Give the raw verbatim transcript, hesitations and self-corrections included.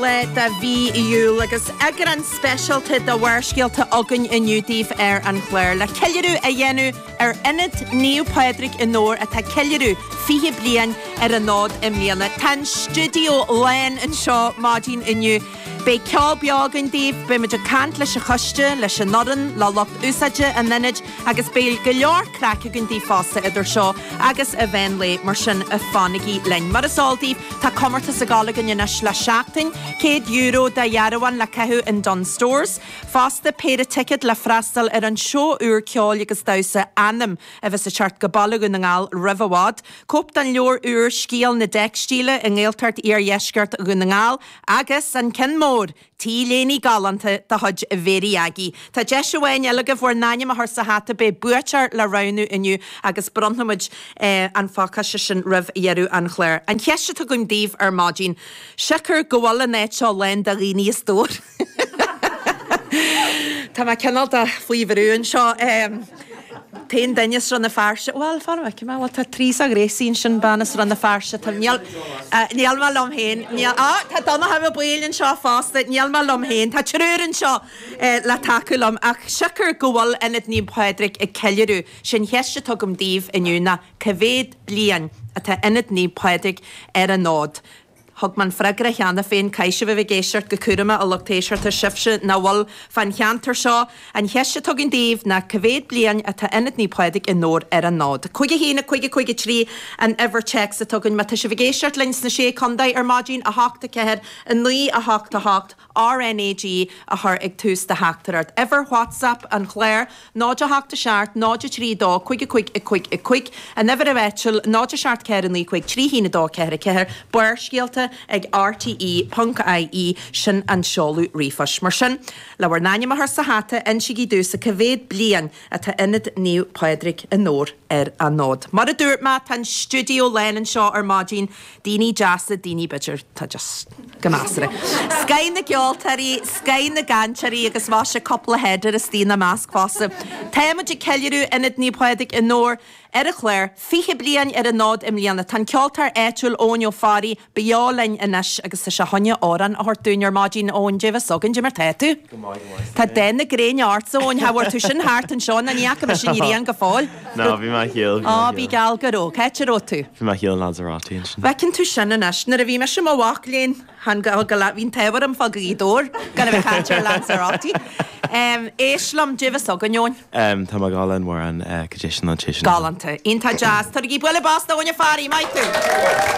Lá de mhí Iúil agus eagrán speisialta de Bharrscéalta againn inniu daoibh ar an chlár le ceiliúradh a dhéanamh ar Ionad Naomh Pádraig i nDobhar atá ag ceiliúradh fiche bliain ar an fhód i mbliana. Tá an stiúideo lán anseo maidin inniu. Beidh ceol beo againn daoibh, beidh muid ag caint leis an choiste, leis an fhoireann, le lucht úsáide an ionaid agus beidh go leor craic againn daoibh fosta idir seo agus an mheán lae, mar sin fanaigí linn. Mar is eol daoibh, tá comórtas ag gabháil againn anois le seachtain, céad euro de dhearbháin le caitheamh in Dunnes Stores. Fosta, péire ticéad le freastal ar an seó úr ceoil agus damhsa Anam a bheas ag teacht go Baile Dhún na nGall roimh i bhfad. Cóip den leabhar úr Scéal na dTeicstíle i nGaeltacht Iardheisceart Dhún na nGall agus an ceann mór, T-léine galánta de chuid Mhéirí Aggie. Tá deis amháin eile agaibh bhur n-ainm a chur sa hata, beidh buaiteoir le roghnú inniu agus bronnfaimid an phacáiste sin roimh dheireadh an chláir. An cheist atá agam daoibh ar maidin, siocair go bhfuil an áit seo lán de dhaoine a stór. Tá mé cineál de faoi bhrú anseo. T-aon duine as Rann na Feirste, bhuel, fan go bhfeicfidh mé, bhuel, tá Teresa Ghracie ansin, bean as Rann na Feirste, tá, níl, níl mé liom féin, níl, á, tá Donncha Ó Baoill anseo fosta, níl mé liom féin, tá triúr anseo le tacú liom, ach siocair go bhfuil Ionad Naomh Pádraig ag ceiliúradh, sin cheist atá agam daoibh inniu ná cá mhéad bliain atá Ionad Naomh Pádraig ar an fhód? Thug mé an freagra cheana féin, caithfidh sibh a bheith ag éisteacht go cúramach, a lucht éisteachta, sibhse nach bhfuil fán cheantar seo. An cheist atá againn daoibh ná cá mhéad bliain atá Ionad Naomh Pádraig i nDobhar ar an fhód? Cúig a haon, a cúig, a cúig a trí an uimhir téacs atá againn. Má tá sibh ag éisteacht linn sna Sé Contae ar maidin, a hocht, a ceathair, a naoi, a hocht, a hocht, RnaG a chur ag tús do theachtaireacht. Uimhir WhatsApp an chláir, náid a hocht a seacht, náid a trí dó, cúig a cúig a cúig a cúig. An uimhir áitiúil, náid a seacht ceathair naoi cúig trí haon a dó ceathair a ceathair. Barrscéalta ag rte ponc ie, sin an seoladh ríomhphoist. Mar sin, le bhur n-ainm a chur sa hata, insígí domhsa cá mhéad bliain atá Ionad Naomh Pádraig i nDobhar ar an fhód. Mar a dúirt mé, tá an stiúideo lán anseo ar maidin, daoine deasa, daoine b'fhéidir, tá just go measartha. Scoth na gceoltóirí, scoth na gcainteoirí agus mhaise cúpla header istigh ina measc fosta. Táimid ag ceiliúradh Ionad Naomh Pádraig i nDobhar ar an chlár, fiche bliain ar an fhód i mbliana. Tá an ceoltóir áitiúil Eoin Ó Fearraigh beo linn anois agus tá sé chun amhrán a thabhairt dúinn ar maidin. Eoin, Dia bheith againn, cad é mar tá tú? Go maith, go maith. Tá dath na gréine ortsa, Eoin, cha bhfuair tú sin thart anseo ná ní fhaca mise an ghrian go fóill. Ná, bhí mé thiar, bhí mé Á, bhí geal go raibh. Cá háit a raibh tú? Bhí mé thiar in Lanzarote ansin. Bhfeiceann tú sin anois. Nuair a bhí mise i mo mhac léinn, chan go, go, bhí an t-ádh orm fá Ghaoth Dobhair gan a bheith ag caint ar Lanzarote. Éist liom, Dia bheith againn, Eoin. Tá mé ag gabháil an amhrán Condition on Tísean. Galánta. Iontach deas. Tabhairigí bualadh bos d'Eoin Ó Fearraigh, maith thú!